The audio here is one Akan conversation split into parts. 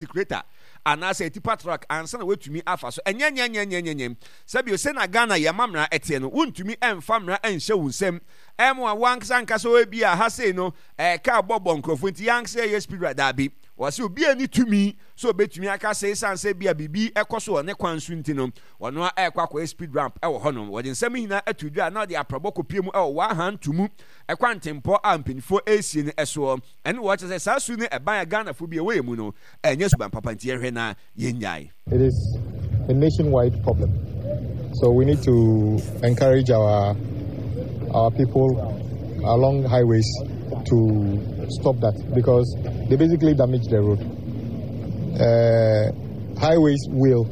Creator anaasɛ tipa truck ansa na woatumi afa so. Ɛnyɛ nyɛnyɛnyɛnyɛnyɛm. Sɛbio sɛnea Ghana yɛn amammerɛ teɛ no, wontumi mfa mmara nhyɛ wo nsam ɛmmoa wo ankasa ankasa o ebia ha sei no ɛɛ car bɔ bɔ nkurɔfoɔ nti yɛn ankasa yɛyɛ speed rider. Daabi. Wɔse obiara nni tumi sɛ obetumi aka sɛ esiane sɛ ebia biribi kɔ so wɔ ne kwan so nti no ɔno ara ɛrekɔ akɔyɛ speed ramp wɔ hɔnom. Wɔde nsɛm yi nyinaa ato dwa na wɔde aprabɔ kɔpue mu wɔ Wahantumu kwantempɔ a mpanimfoɔ resie no soɔ. Ɛne wɔ kyerɛ sɛ saa su ne ɛban a Ghanafo bi ɛwɔ yɛn mu no ɛnyɛ suban papa nti yɛnhwɛ na yɛnnyae. It is a nationwide problem so we need to encourage our our people along highways to stop that because they basically damage the road. Uh, highways will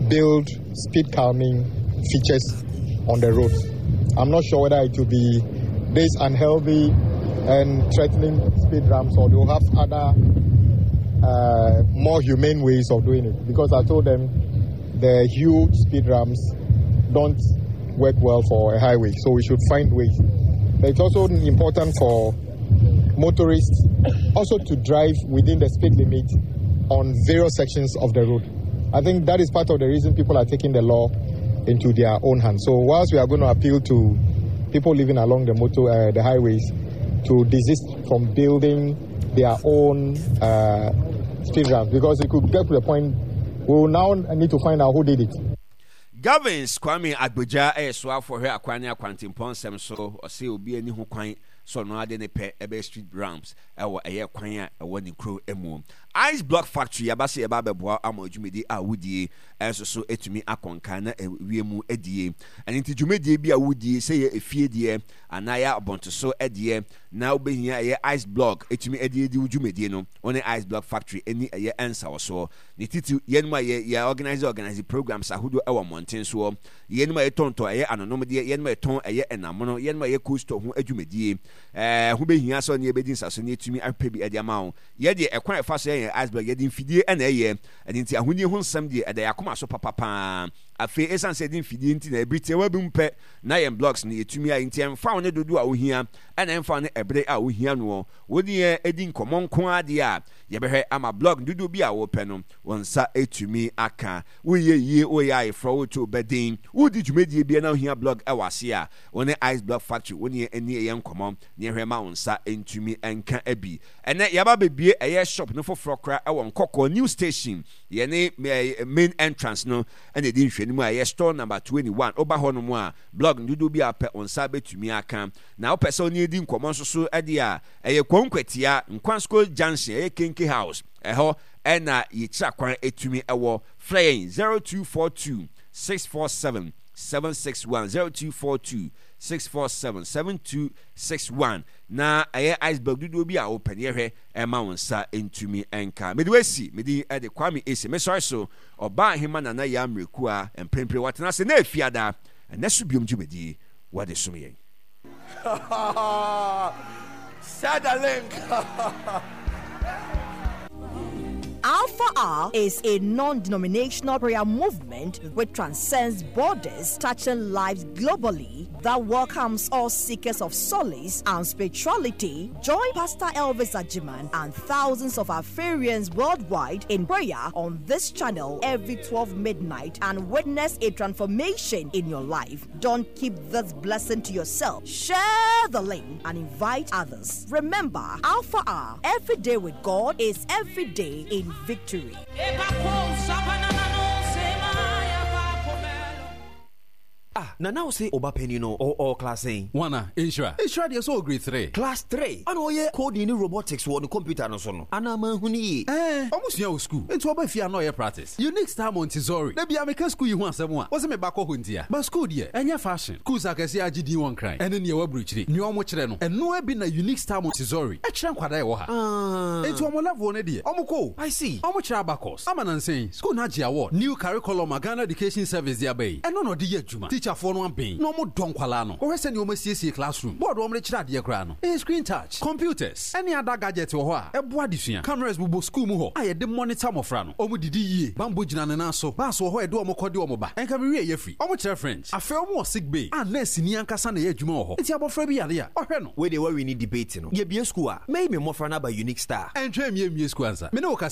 build speed calming features on the road. I'm not sure whether it will be this unhealthy and threatening speed ramps or they'll have other uh, more humane ways of doing it. Because I told them the huge speed ramps don't work well for a highway, so we should find ways. But it's also important for motorists also to drive within the speed limit on various sections of the road. I think that is part of the reason people are taking the law into their own hands. So whilst we are going to appeal to people living along the motor, uh, the highways to desist from building their own uh, speed ramps because it could get to the point we will now need to find out who did it. Gavins Kwame Agbodza yɛ soafoɔ hwɛ akwan ne akwantempɔn nsɛm so. Ɔse obi ani ho kwan sɛ ɔno ara de ne pɛ bɛyɛ street ramps wɔ ɛyɛ kwan a ɛwɔ ne kuro mu. Ice Block Factory yɛaba sɛ yɛba abɛboa ama dwumadie a wodie nso so atumi akɔ nkan na awie mu adie. Ɛno nti dwumadie bi a wodie sɛ ɛyɛ efie deɛ anaa ɛyɛ abɔnteso deɛ na wobɛhia ɛyɛ Ice Block atumi de adi wo dwumadie no, wo ne Ice Block Factory ɛni ɛyɛ nsawɔsoɔ. Ne titiriw, yɛnom a yɛ yɛ organise organise programs ahodoɔ ɛwɔ mmɔnten soɔ, yɛnom a yɛtɔntɔn ɛyɛ anonomdeɛ, yɛnom a yɛtɔn ɛyɛ ɛnamono, yɛnom a yɛ cold store ho adwumadie, ɛɛ ho bɛhia sɛ ɔne yɛbɛdi nsaso na yɛatumi ahwepɛ bi de ama wo. Yɛ deɛ ɛkwan a yɛfa so yɛ yɛn iceberg, yɛde mfidie na ɛyɛ, ɛno nti ahonie ho nsɛm deɛ ɛda yɛn akoma so papa pa ara. Afei ɛsiane sɛ yɛde mfidie nti na ɛbere tiawa bi mu pɛ na yɛn blocks no yɛtumi ayɛ nti ɛmfa wo ne dodoɔ a wohia ɛna ɛmfa wo ne ɛbere a wohia noɔ. Wo ne yɛn di nkɔmmɔ nko ara deɛ a, Yɛbɛhwɛ ama blog dodoɔ bi a wopɛ no, wo nsa atumi aka. Woreyɛ yie, woreyɛ ayeforɔ, woreto wo ba din, woredi dwumadie biara na wohia blog wɔ aseɛ a, wo ne Ice Blog Factory wo ne yɛn nni ɛyɛ nkɔmmɔ na yɛnhwɛ ma wo nsa ntumi nka bi. Ɛnnɛ yɛaba abɛbue ɛyɛ shop no foforɔ koraa wɔ Nkɔkɔɔ New Station, yɛne main entrance no na ɛdi nhwɛanimu a ɛyɛ store number 21. Woba hɔnom a, blog no dodoɔ bi a wopɛ wo nsa bɛtumi aka. Na wopɛ sɛ wo ne yɛn di nkɔmmɔ nso so deɛ a, Ɛyɛ Kwankwatia, Nkwansko Junction, ɛyɛ Kenke House, ɛhɔ na yɛkyira kwan ɛtumi ɛwɔ. Frɛ yɛn 0242 647 761, 0242 647 7261 na ɛyɛ iceberg dodoɔ bi a wopɛ no yɛhwɛ ɛma wo nsa ntumi nka. Mede wasi, me din ɛde Kwame Ese, mesɔre so, Ɔbaa Ahema Nana Yaa Mmerɛkua, mprempren watena ase na Efiada, ɛnɛ so biom dwumadie wɔde som yɛn. Share the link. Alpha R is a non denominational prayer movement which transcends borders, touching lives globally, that welcomes all seekers of solace and spirituality. Join Pastor Elvis Ajiman and thousands of Alpharians worldwide in prayer on this channel every 12 midnight and witness a transformation in your life. Don't keep this blessing to yourself. Share the link and invite others. Remember, Alpha R, every day with God is every day in victory. Ah Nana wo se oba panin no ɔwɔ ɔwɔ class sɛn? Wana? Nhyira? Nhyira deɛ sɛ ɔwɔ grade three. Class three? Ɛna ɔyɛ coding ne robotics wɔ ne computer no so no anaa manhu no yie? Ɛɛ ɔmo sua wɔ school nti ɔba fie a na ɔyɛ practice. Unique Star Montessori, da biara meka sukuu yi ho asɛm a, wose me ba kɔ hɔ ntia. But sukuu deɛ, ɛnyɛ fashion. Schools akɛseɛ a agye din wɔ Nkran ɛne nea ɛwɔ aburokyire, nea wɔn kyerɛ no, ɛno ara bi na Unique Star Montessori kyerɛ nkwadaa a ɛwɔ ha. Enti wɔn level no deɛ, wɔn kɔ o. I see. Wɔn kyerɛ abacus. Ama nansa yi, sukuu no agye award. New curriculum a Ghana Education Service de aba yi, ɛno na ɔde yɛ adwuma. Teacherfoɔ. Akyerɛkyerɛfoɔ no aben na wɔn dɔ nkwadaa no. Kɔhwɛ sɛnea wɔn asiesie classroom, board a wɔn de kyerɛ adeɛ koraa no, ɛyɛ screen touch. Computers ne other gadgets wɔ hɔ a ɛboa adesua. Cameras bobɔ school mu hɔ a yɛde monitor mmɔfra no. Wɔn didi yie, bambɔ gyina ne nan so, bus wɔ hɔ a yɛde wɔn kɔ de wɔn ba. Ɛnka me wie yɛ firi. Wɔn kyerɛ French. Afei wɔn wɔ sick bay a nurse ni ankasa na ɛyɛ adwuma wɔ hɔ. Nti abɔfra bi yare a, ɔhwɛ no. Wei deɛ woawini debate no. Yɛbue school a, mɛyi me mmɔfra no aba Unique Star. Ɛntwɛn mmie mmie school ansa. Me ne wo kasa.